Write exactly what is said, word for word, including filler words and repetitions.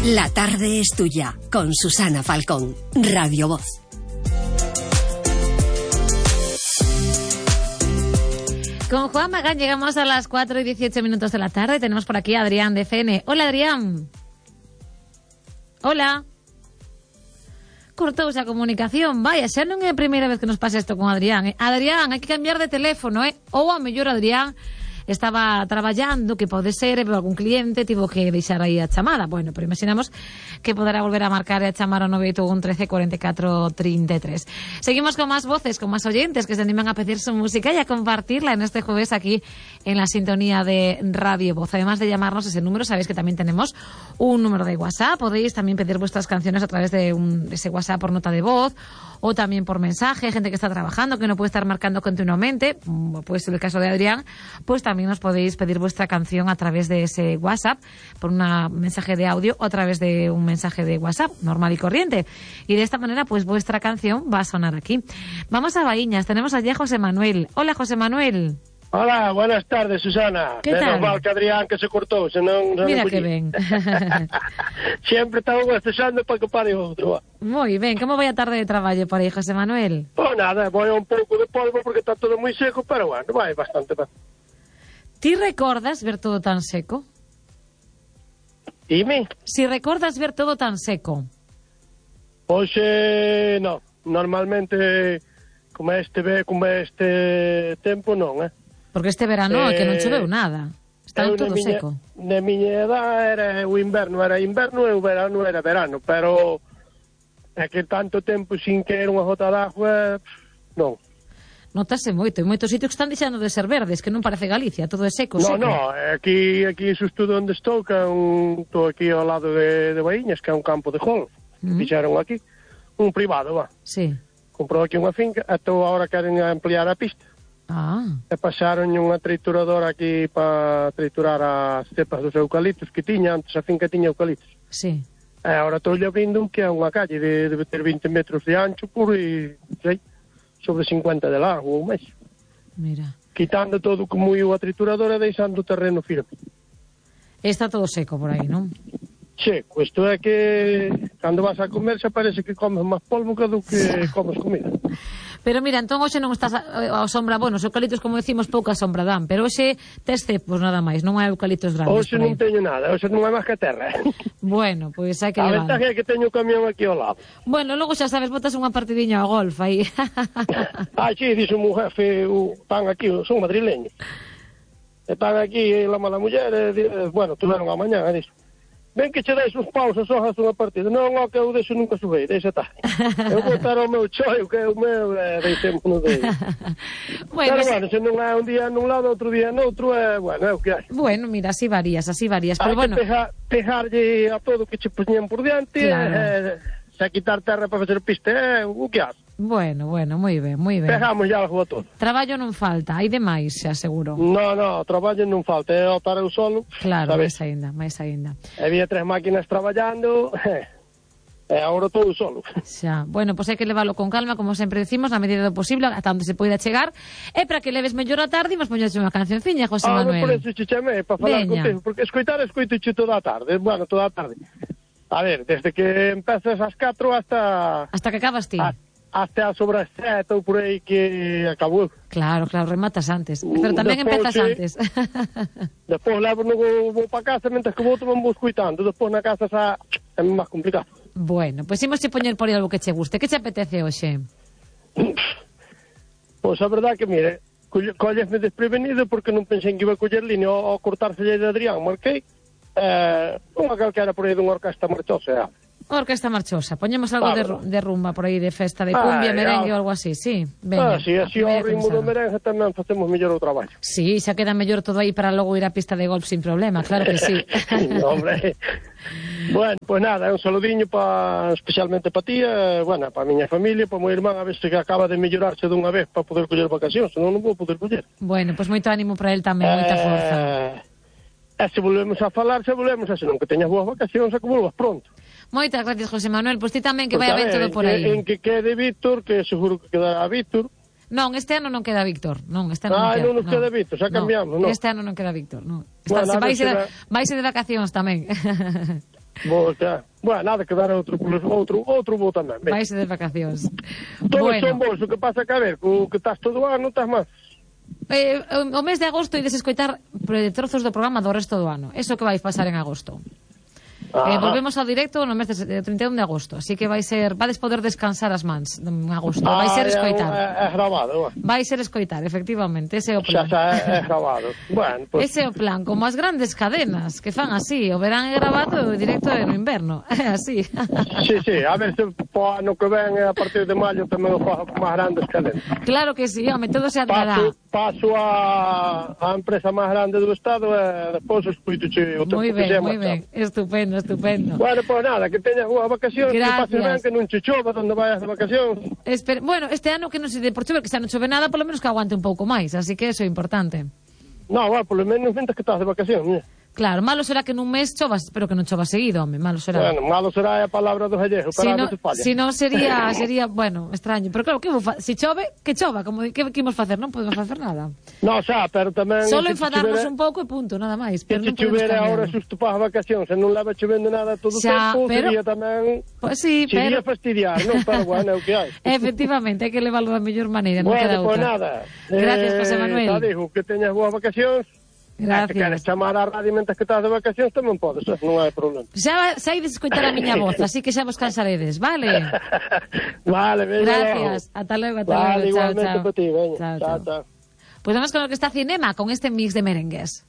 La tarde es tuya, con Susana Falcón, Radio Voz. Con Juan Magán llegamos a las cuatro y dieciocho minutos de la tarde. Tenemos por aquí a Adrián de F N. Hola, Adrián. Hola. Cortouse a comunicación. Vaya, xa non é a primeira vez que nos pasa isto con Adrián. Eh? Adrián, hai que cambiar de teléfono, eh? Ou a mellor Adrián estaba traballando, que pode ser, pero algún cliente tivo que deixar aí a chamada. Bueno, pero imaginamos que poderá volver a marcar e a chamar ao nove oito un trece cuarenta y cuatro treinta y tres. Seguimos con más voces, con más oyentes que se animan a pedir su música y a compartirla en este jueves aquí en la sintonía de Radio Voz. Además de llamarnos ese número, sabéis que también tenemos un número de WhatsApp. Podéis también pedir vuestras canciones a través de, un, de ese WhatsApp por nota de voz o también por mensaje. Gente que está trabajando, que no puede estar marcando continuamente, pues en el caso de Adrián, pues también nos podéis pedir vuestra canción a través de ese WhatsApp, por un mensaje de audio o a través de un mensaje de WhatsApp normal y corriente. Y de esta manera, pues vuestra canción va a sonar aquí. Vamos a Baíñas, tenemos allí a José Manuel. Hola, José Manuel. Hola, buenas tardes, Susana. ¿Qué tal? Menos mal que Adrián que se cortou, senón... Mira que ben. Sempre estaba gostexando para que pare outro. Moi ben, como vai a tarde de traballo por aí, José Manuel? Pois nada, vai un pouco de polvo porque está todo moi seco, pero bueno, vai bastante ben. Ti recordas ver todo tan seco? Dime? Si recordas ver todo tan seco. Pois, eh, non. Normalmente, como este, como este tempo, non, eh? Porque este verano é eh, que non choveu nada. Está todo miña, seco. Na miña edad era o inverno, era inverno e o verano era verano, pero é que tanto tempo sin que era unha gota d'agua, non. Notase moito, en moitos sitios que están deixando de ser verdes, que non parece Galicia, todo é seco, no, seco. No, no, aquí, aquí xusto onde estou, que é un, estou aquí ao lado de, de Baíñas, que é un campo de golf, mm. fixeron aquí, un privado, va. Sí. Comprou aquí unha finca, e estou agora queren ampliar a pista. Ah. E pasaron unha trituradora aquí para triturar as cepas dos eucaliptos que tiña, antes a finca tiña eucaliptos. Sí. E agora estou abrindo un que é unha calle de, de ter vinte metros de ancho puro e, sei, sobre cincuenta de largo ou máis. Mira. Quitando todo como iu a trituradora e deixando o terreno firme. Está todo seco por aí, non? Seco, isto é que cando vas a comer xa parece que comes máis polvo que do que comes comida. Pero mira, entón hoxe non estás a, a sombra, bueno, os eucaliptos, como decimos, pouca sombra dan, pero hoxe tes cepos nada máis, non hai eucaliptos grandes. Hoxe non teño nada, hoxe non hai máis que terra. Bueno, pois pues hai que a levar. ventaja é que teño o camión aquí ao lado. Bueno, logo xa sabes, botas unha partidiña ao golf aí. Ah, sí, dixo un jefe, o pan aquí, son madrileños. E pan aquí, la mala muller, e, bueno, tuveron a mañá, e dixo, ven que che deis uns paus e sojas unha partida. Non, o que eu deixo nunca subei, deixa tá. Eu botar o meu choio, que é o meu, e deixémonos de... Bueno, pero bueno, se non é un día nun lado, outro día noutro, é, bueno, é o que hai. Bueno, mira, así varías, así varías. Hai pero bueno, que pejar, pejarlle a todo que che poñían por diante, claro. e, se quitar terra para facer piste, é o que hace. Bueno, bueno, moi ben, moi ben. Pegamos ya algo a todo. Traballo non falta, hai demais, se aseguro. No, no, traballo non falta, é otar o solo. Claro, sabes? máis aínda, máis aínda. Había tres máquinas traballando, e agora todo solo. Xa, bueno, pois pues hai que leválo con calma, como sempre decimos, na medida do posible, ata onde se poida chegar, e para que leves mellor a tarde, imos poñerse unha cancionciña, José ah, Manuel. Ah, por eso che chamei, para falar Veña. contigo, porque escoitar escoito che toda a tarde, bueno, toda a tarde. A ver, desde que empezas ás catro hasta... Hasta que acabas ti. A... Hasta sobre as sete ou por aí que acabou. Claro, claro, rematas antes. Pero tamén Despois, empezas sí. antes. Despois levo no vou, vou para casa, mentre que vou tamén vou escoitando. Despois na casa xa é máis complicado. Bueno, pois pues imos che poñer por aí algo que che guste. Que che apetece hoxe? Pois a verdade que, mire, collesme desprevenido porque non pensei que iba a coller línea ao cortarse de Adrián. Marquei eh, unha calquera por aí dunha orquesta marchosa. Orquesta marchosa. Poñemos algo de, de rumba por aí, de festa, de ah, cumbia, merengue ah, ou algo así, sí. Venga, ah, sí, así ao ritmo do merengue tamén facemos mellor o traballo. Sí, xa queda mellor todo aí para logo ir á pista de golf sin problema, claro que sí. Hombre. Bueno, pois pues nada, un saludiño pa, especialmente para ti, eh, bueno, para a miña familia, para o meu irmán, a ver se que acaba de mellorarse dunha vez para poder coller vacacións, senón non vou poder coller. Bueno, pois pues moito ánimo para el tamén, moita eh, forza. E se volvemos a falar, se volvemos a senón que teñas boas vacacións, a que volvas pronto. Moitas gracias, José Manuel. Pois ti tamén que Porque, vai a ver todo por aí. En que quede Víctor, que seguro que quedará Víctor. Non, este ano non queda Víctor. Non, este ano ah, non queda. non nos queda no. Víctor, xa cambiamos, non? Este ano non queda Víctor, non. Está, Bueno, se vaise, será... vaise de vacacións tamén. Vou xa. Bueno, nada, que dar outro, outro, outro vou tamén. Vais de vacacións. Todos Bueno. son vos, o que pasa que a ver, co que estás todo ano, estás máis. Eh, o mes de agosto ides escoitar trozos do programa do resto do ano. Eso que vais pasar en agosto. Eh, volvemos ao directo no mes de trinta e un de agosto, así que vai ser, vades poder descansar as mans en agosto, Ah, vai ser é, escoitar. É, é grabado, vai ser escoitar, efectivamente, ese é o xa, plan. xa é, é grabado. Bueno, pues... Ese é o plan, como as grandes cadenas que fan así, o verán é grabado e o directo é no inverno, é así. Sí, sí, a ver se po ano que ven a partir de maio tamén o fa máis grandes cadenas. Claro que sí, home, todo se andará. Paso, paso a, a empresa máis grande do estado e despois escuitoche o tempo Moi que ben, sea moi máis ben, estupendo, estupendo. Bueno, pois pues nada, que teñas boas vacacións, que Gracias. pases ben, que non che chova onde vayas de vacacións. Esper... Bueno, este ano que non se de por chover, que xa non chove nada, polo menos que aguante un pouco máis, así que eso é importante. No, bueno, polo menos mentas que estás de vacacións, mira. Claro, malo será que nun mes chovas, pero que non chova seguido, home, malo será. Bueno, malo será a palabra dos gallegos, Si para no, non se falla. si non sería, sería, bueno, extraño. Pero claro, que vou fa... si chove, que chova, como que, que imos facer, non podemos facer nada. No, xa, pero tamén... Solo se enfadarnos chovere- un pouco e punto, nada máis. Que Pero se non podemos chovere cambiar. ahora xusto para as vacacións, e non leva chovendo nada todo o Xa, tempo, pero- sería tamén... Pois sí, Sería pero... fastidiar, non? Pero bueno, é o que hai. Efectivamente, hai que leválo da mellor maneira, non queda Bueno, pois outra. nada. Gracias, eh, José Manuel. Xa digo, que teñas boas vacacións. Gracias. Se queres chamar á radio mentre que estás de vacacións tamén podes, eh, non hai problema. Xa saides escoitar a miña voz, así que xa vos cansaredes, vale? Vale, veña. Gracias, ata logo, ata Vale, logo, chao, igualmente chao. para ti, veña. Chao, Chao, chao. chao. Pues vamos con lo que está Cinema, con este mix de merengues.